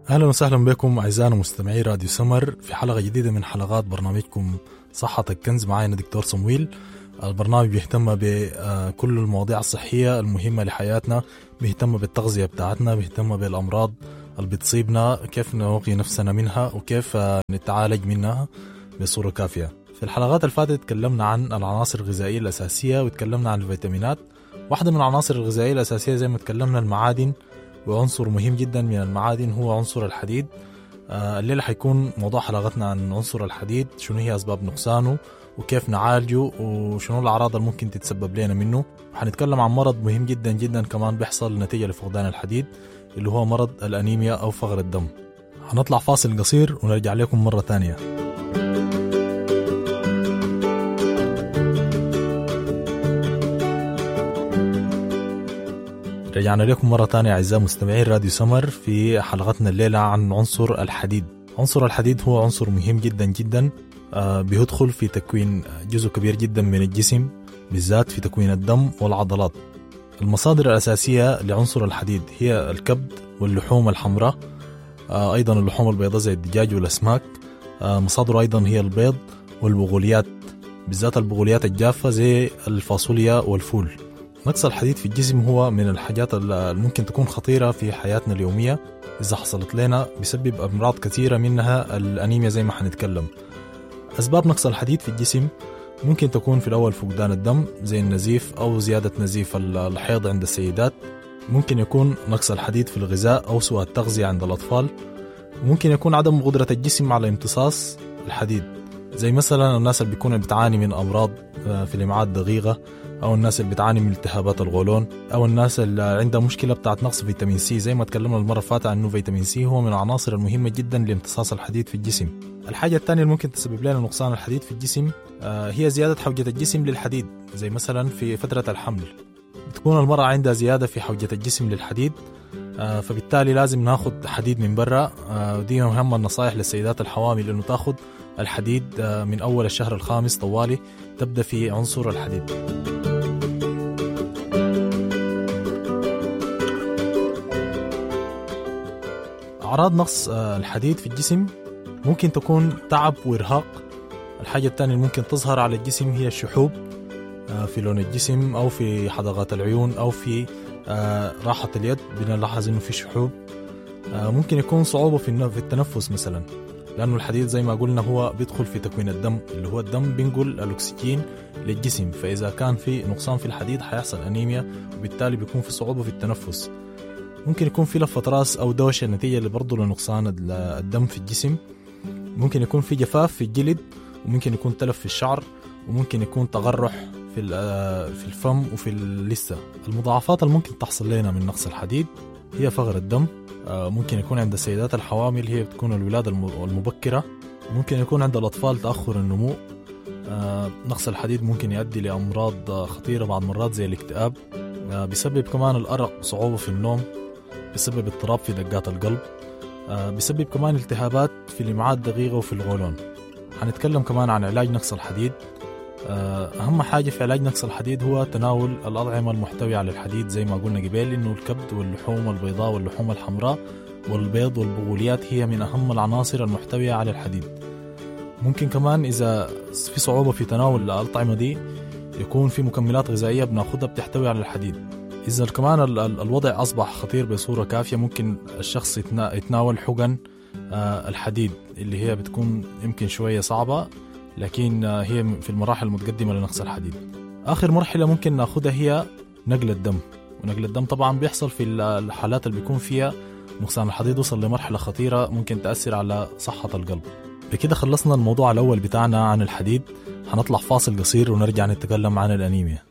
اهلا وسهلا بكم اعزائنا مستمعي راديو سمر في حلقة جديدة من حلقات برنامجكم صحتك كنز. معانا دكتور صمويل. البرنامج بيهتم بكل المواضيع الصحية المهمة لحياتنا، بيهتم بالتغذية بتاعتنا، بيهتم بالامراض اللي بتصيبنا، كيف نوقي نفسنا منها وكيف نتعالج منها بصورة كافيه. في الحلقات اللي فاتت تكلمنا عن العناصر الغذائية الاساسية وتكلمنا عن الفيتامينات. واحدة من العناصر الغذائية الاساسية زي ما تكلمنا المعادن، وعنصر مهم جدا من المعادن هو عنصر الحديد. الليلة حيكون موضوع حلقتنا عن عنصر الحديد، شنو هي أسباب نقصانه وكيف نعالجه وشنو الأعراض اللي ممكن تتسبب لنا منه. وحنتكلم عن مرض مهم جدا جدا كمان بيحصل نتيجة لفقدان الحديد اللي هو مرض الأنيميا أو فقر الدم. هنطلع فاصل قصير ونرجع لكم مرة تانية. رجعنا لكم مرة تانية أعزائي مستمعين راديو سمر في حلقتنا الليلة عن عنصر الحديد. عنصر الحديد هو عنصر مهم جدا جدا، بيدخل في تكوين جزء كبير جدا من الجسم، بالذات في تكوين الدم والعضلات. المصادر الأساسية لعنصر الحديد هي الكبد واللحوم الحمراء، أيضا اللحوم البيضاء زي الدجاج والأسماك. مصادره أيضا هي البيض والبغوليات، بالذات البغوليات الجافة زي الفاصوليا والفول. نقص الحديد في الجسم هو من الحاجات اللي ممكن تكون خطيرة في حياتنا اليومية إذا حصلت لنا، بسبب أمراض كثيرة منها الأنيميا زي ما حنتكلم. أسباب نقص الحديد في الجسم ممكن تكون في الأول فقدان الدم زي النزيف أو زيادة نزيف الحيض عند السيدات. ممكن يكون نقص الحديد في الغذاء أو سوء التغذية عند الأطفال. ممكن يكون عدم قدرة الجسم على امتصاص الحديد، زي مثلا الناس اللي بيكونوا بتعاني من أمراض في الإمعاء الدقيقة، أو الناس اللي بتعاني من التهابات الغولون، أو الناس اللي عندها مشكلة بتاعت نقص فيتامين سي. زي ما تكلمنا المرة اللي فاتت إنه فيتامين سي هو من العناصر المهمة جدا لامتصاص الحديد في الجسم. الحاجة الثانية اللي ممكن تسبب لنا نقصان الحديد في الجسم هي زيادة حوجة الجسم للحديد، زي مثلا في فترة الحمل بتكون المرأة عندها زيادة في حوجة الجسم للحديد، فبالتالي لازم ناخد حديد من برا. ودي أهم النصائح للسيدات الحوامل إنه تاخد الحديد من أول الشهر الخامس طوالي تبدأ في عنصر الحديد. أعراض نقص الحديد في الجسم ممكن تكون تعب وإرهاق. الحاجة الثانية اللي ممكن تظهر على الجسم هي الشحوب في لون الجسم أو في حدقات العيون أو في راحة اليد، بنلاحظ إنه في شحوب. ممكن يكون صعوبة في التنفس مثلا، لأنه الحديد زي ما قلنا هو بيدخل في تكوين الدم، اللي هو الدم بينقل الأكسجين للجسم، فإذا كان في نقصان في الحديد حيحصل أنيميا، وبالتالي بيكون في صعوبة في التنفس. ممكن يكون في لفة راس أو دوشة نتيجة برضو لنقصان الدم في الجسم. ممكن يكون في جفاف في الجلد، وممكن يكون تلف في الشعر، وممكن يكون تغرح في الفم وفي اللثة. المضاعفات اللي ممكن تحصل لنا من نقص الحديد هي فقر الدم. ممكن يكون عند السيدات الحوامل هي بتكون الولادة المبكرة. ممكن يكون عند الأطفال تأخر النمو. نقص الحديد ممكن يؤدي لأمراض خطيرة بعض مرات زي الاكتئاب. بيسبب كمان الأرق وصعوبة في النوم، بيسبب اضطراب في دقات القلب، بيسبب كمان التهابات في الإمعاء الدقيقة وفي الغولون. هنتكلم كمان عن علاج نقص الحديد. أهم حاجة في علاج نقص الحديد هو تناول الأطعمة المحتوية على الحديد، زي ما قلنا قبل إنه الكبد واللحوم البيضاء واللحوم الحمراء والبيض والبغوليات هي من أهم العناصر المحتوية على الحديد. ممكن كمان إذا في صعوبة في تناول الأطعمة دي يكون في مكملات غذائية بناخدها بتحتوي على الحديد. إذا كمان الوضع أصبح خطير بصورة كافية ممكن الشخص يتناول حقن الحديد اللي هي بتكون يمكن شوية صعبة، لكن هي في المراحل المتقدمة لنقص الحديد. آخر مرحلة ممكن ناخدها هي نقل الدم، ونقل الدم طبعا بيحصل في الحالات اللي بيكون فيها نقصان الحديد وصل لمرحلة خطيرة ممكن تأثر على صحة القلب. بكده خلصنا الموضوع الأول بتاعنا عن الحديد. هنطلع فاصل قصير ونرجع نتكلم عن الأنيميا.